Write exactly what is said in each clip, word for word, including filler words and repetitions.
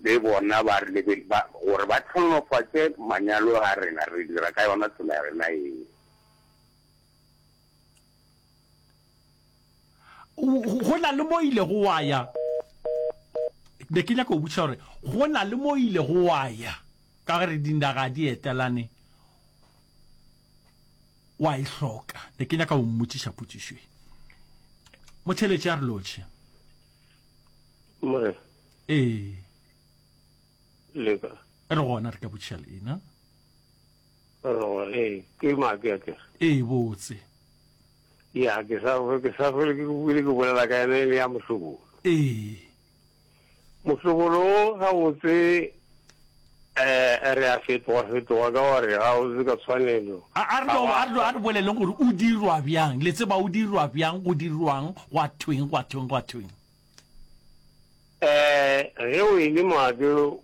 Le bona ba re lebe, ba, gore ba hlonofatše manyalo a rena, re dira ka yona tsela ya rena yeo. Go na le mo ilego wa ya, ne ke nyaka go botšiša gore go na le mo ilego wa ya, ka gore dinaga di etelane, wa e hloka. Ne ke nyaka go mmotšiša potšišo e. Motheeletši a re lotšhe. Morena. Ee. Leka. Re gona re ka botšiša leina. Re gona, ee, ke Maake a kere. Ee, botse. Ya, ke sa, ke sa hlole ke bile ke bolela ka yena e le ya mohlobolo. Ee. Mohlobolo o gabotse eh, re a fetoga fetoga ka gore gabotse ka tshwanelo. A, a re no, a re no, a re boleleng gore o dirwa bjang. Le tseba o dirwa bjang, go dirwang, gwa thweng, gwa thweng, gwa thweng. Eh, ge o e le Maake o,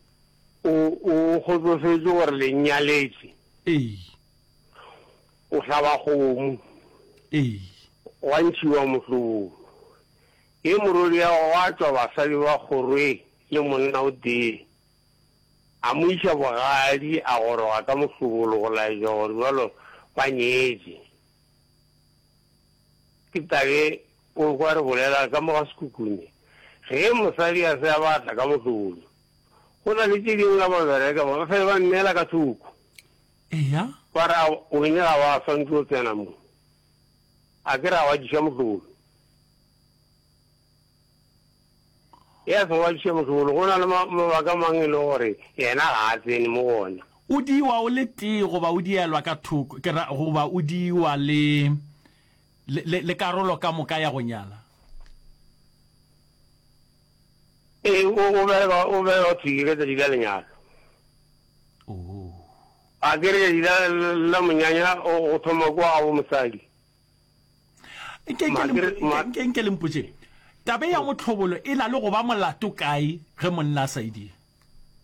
o kgotsofetše gore le nyaletše. Ee. O hlaba kgomo. Ee. Gwa ntšhiwa mohlobolo. Ge morwedi ya gwa tšwa basadi ba kgorwe le monna o tee. A mo iša bogadi a goroga ka mohlobolo go laetša gore bjalo ba nyetše. Ke tabe o kwa re bolela ka mo ga Sekhukhune. Ge mosadi a se a batla ka mohlobolo, go na le tše dingwe ka ba bereka ba fele ba nneela ka thoko. Eya. Ba re, Wene ga wa swanetše go tsena mo. A ke re a wa diša mohlobolo. Ge a sa wa diša mohlobolo, go na le mabaka mang e le gore yena ga a tsene mo go ona? O diiwa o le tee goba o dielwa ka thoko, ke ra goba o diiwa le, le, le, le karolo ka moka ya go nyala? Ee, o, o bereka, o bereka thwi ka tšatši la lenyalo. Oh. A ke re tšatši la, la monyanya o, go thoma kua gabo mosadi. Nke, nke le mpo, nke, nke, nke le mpotšeng, taba ya mohlobolo e na le go ba molato kae ge monna a sa e dire?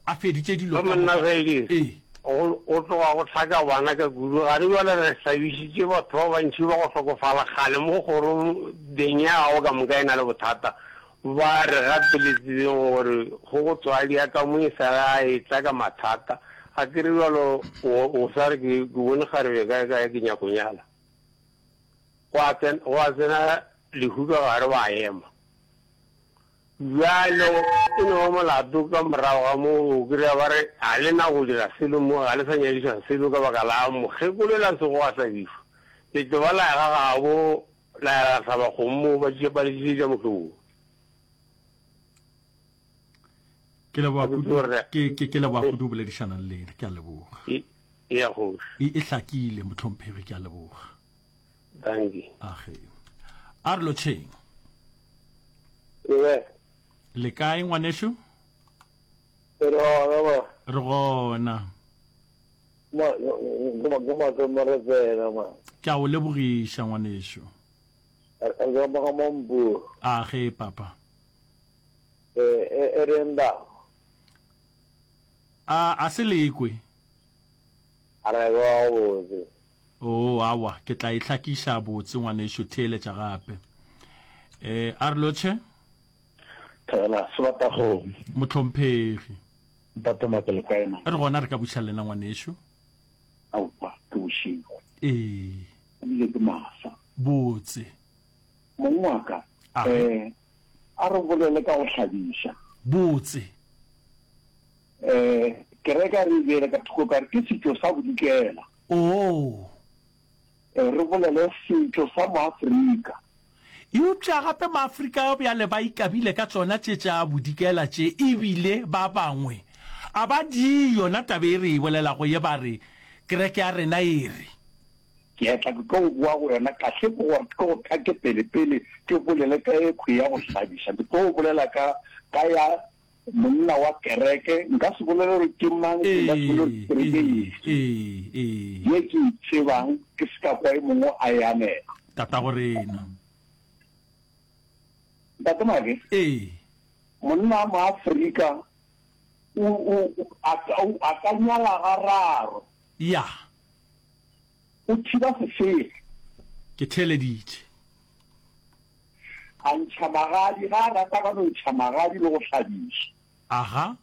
A feditše dilo Ge ka monna a moka. sa e dire, Ee. go, go tloga go hlaka bana ka kudu. Gare bjale re hlabišitše batho ba bantši ba go hlokofala kgale mo kgorong, beng ya gago ka moka e na le bothata. Ba re gapeletšeng gore go go tswadi ya ka mo e sa le a etla ka mathata. Ga ke re bjalo o, o sa re ke, ke bone kgarebe kae kae ke nyako nyala. Gwa tsena, gwa tsena lehu ka gare ba ema. Bjalo e no ba molato ka morago ga moo o kry-a ba re ga le na go dira selo mo, ga le sa nyadiša selo ka baka la mokgekolo la sego a hlabišwa. Letšoba la ya ga gabo la ya la hlaba kgomo moo ba tše ba le tlišetša mohlobolo. Ke leboga kudu, ke, ke, ke leboga kudu go boledišana le lena. Ke a leboga. E, ya kgoši. E, e hlakile, mohlomphegi, ke a leboga. Dankie. Age. A re lotšheng. Ebe. Le kae ngwanešu? Re gona ma. Re gona. Ma, ke ma, ke ma re tsena ma. Ke a o lebogiša ngwanešu. Re ka mo ga Mampu. Age papa. E, e, e re nda. A, a se lekwe. A re kwa botse. Oo, aowa, ke tla e hlakiša botse, ngwanešu, theeletša gape. E, a re lotšhe. Thobela, Sebatakgomo. Mohlomphegi. Ntate Mate, le kae na? Re gona, re ka buša lena, ngwanešu. Aowa, ke bošego. Ee. Ebile ke masa. Botse. Mong wa ka, eh, a re bolele ka go hlabiša. Botse. Eh, kereke a re e beele ka thoko ka re ke setšo sa Bodikela. Oo. Eh, re bolele setšo sa Moafrika. Eupša gape Maafrika bjale ba ikabile ka tšona tše tša Bodikela tše ebile ba bangwe a ba di yona taba e re e bolelago ye ba re kereke ya rena e re. Ke a tla ke tlo boa go yona kahle ke gore ke tlo go thake pele pele ke bolele ka ekhwi ya go hlabiša. Ke tlo bolela ka ka ya monna wa kereke, nka se bolele gore ke mang, nka se bolele gore ke kereke efe ye ke e tsebang, ke se ka kwa e mongwe a e anega. Tatago rena. Ntate Make. Ee. Monna wa Moafrika o, o, a, a ka nyala gararo. Ya. O thiba sefefe. Ke theeleditše. A ntšha magadi, ga a rata ka no ntšha magadi le go hlabiša. Aga.